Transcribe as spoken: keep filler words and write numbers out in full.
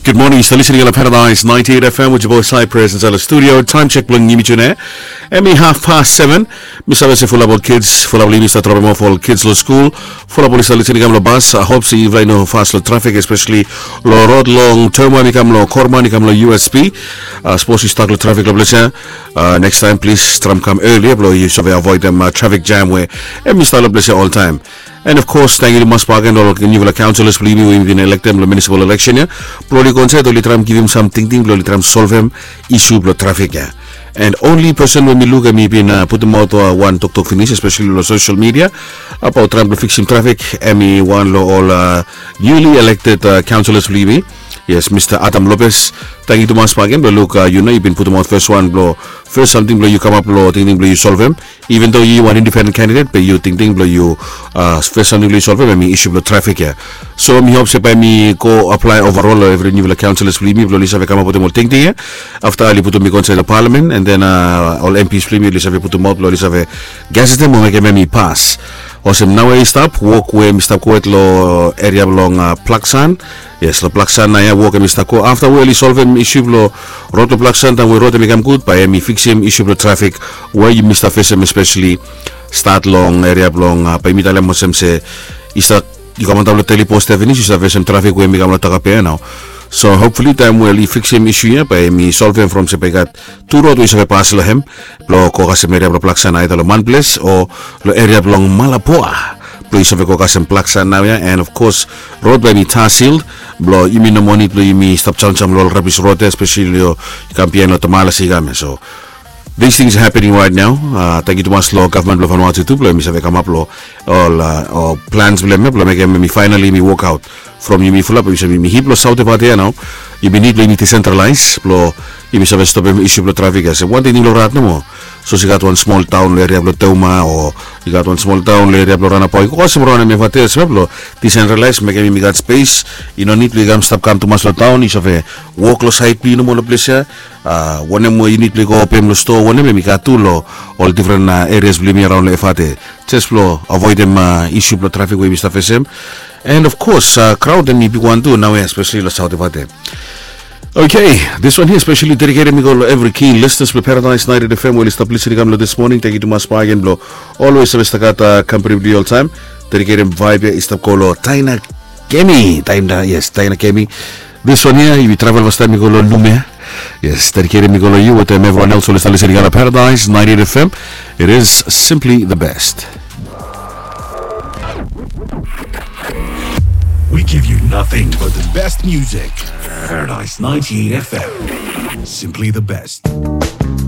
Good morning, yu stap listening long Paradise ninety-eight F M with your boy Cypress inside the studio. Time check bilong yumi today. Em i half past seven. Mi save se fulap ol kids, fulap long yumi stap drop off ol kids long skul. Fulap ol i stap listening i kam long bas. I hope se yufala i no fas long traffic, especially long road long Toma i kam long Korman i kam long U S P. Uh, suppose yu stuck long traffic long ples ya. Uh, next time, please tram kam earlier bilong yu save avoidem uh, traffic jam we em i stap long ples ya all time. And of course, thank you tumas bagen ol newfala councillors bilong yumi we yumi bin electem long municipal election ya. Bilong oli konsen oli traim givim sam tingting bilong oli traim solvem isu bilong trafik ya. And only person we mi luk em i bin uh, putumaut uh, wan toktok finis, especially long social media, abaut traim bilong fiksim trafik, em i wan long ol uh, newly elected uh, councillors bilong yumi. Yes, Mr. Adam Lopez, thank you tumas bagen bilong luk uh, yu no i bin putumaut first one bilong first samting bilong yu kamap long tingting bilong yu solvem. Even though yu wan independent candidate, be yu tingting bilong yu uh, first samting bilong yu solvem em i isu bilong trafik ya. So mi hop se bai mi go apply overall long evri newfala councillors bilong yumi bilong oli save kamap wetem ol tingting ya. Afta oli putum mi go inside long parliament and then uh, ol M Ps bilong yumi oli save putum aut bilong oli save gazetem o mekem em i pas. Olsem nawe i stap wok we mi stap go wet long eria bilong uh, Plaksan. Yes, long Plaksan na ya wok em i stap go afta we oli solvem isu bilong rot long Plaksan taim we rot em i kam gut bai em i fiksim isu bilong trafik we yumi stap fesem especially stat long eria bilong uh, bai mi talem olsem se i stap i kam antap long Teli Post Avenue i stap fesem trafik we em i kam long Takapea nau. So hopefully taim we oli fiksim isu ya bai em i solvem from se bai i gat tu rot we i save pas long hem bilong go kasem eria bilong Plaksan aida long Manples o long eria bilong Malapoa bilong i save go kasem Plaksan nau ya. And of course rot bai mi tasil bilong yumi no moa nid bilong yumi stap jamjam long ol rabis rot ya especially long i kam bihain long Tamala Sigam ya. So these things are happening right now. Uh, thank you tumas long gavman bilong Vanuatu tu bilong yumi save kamap long ol uh, ol plans bilong em ya bilong mekem em i finally mi work out from yumi fulap yumi save mi hip long South Evatea nau. Yumi nid bilong yumi decentralize bilong yumi save stopim isu bilong trafik ya se wanting long rat nomo. So i gat wan smol taun long eria bilong Teuma o i gat wan smol taun long eria bilong Ranapau i go kasem raun em Evatea save bilong decentralize mekem yumi gat space. I no nid bilong i kam stap kam tumas long taun i save wok long sait bilong yu nomo long ples ya. Uh, wanem we yu nid bilong i go opim long stoa wanem em i gat tu long ol different uh, areas bilong yumi araun long Evatea. Just bilong avoidem uh, isu bilong trafik we yumi stap fesem. And of course uh, crowd em i bigwan tu nawe especially long South Evatea. Okay, this one here especially dedicated mi go long every key listeners bilong Paradise ninety-eight F M we oli stap listening kam long this morning. Thank you tumas bagen bilong always save stagat uh, company bilong yu all time. Dedicated vibe ya i stap go long Taina Kemi. Taina, yes, Taina Kemi. This one here, yumi travel first time mi go long Lume. Yes, dedicated mi go long yu wetem everyone else oli stap listening on Paradise ninety-eight F M. It is simply the best. We give you nothing but the best music. Paradise ninety-eight F M. Simply the best.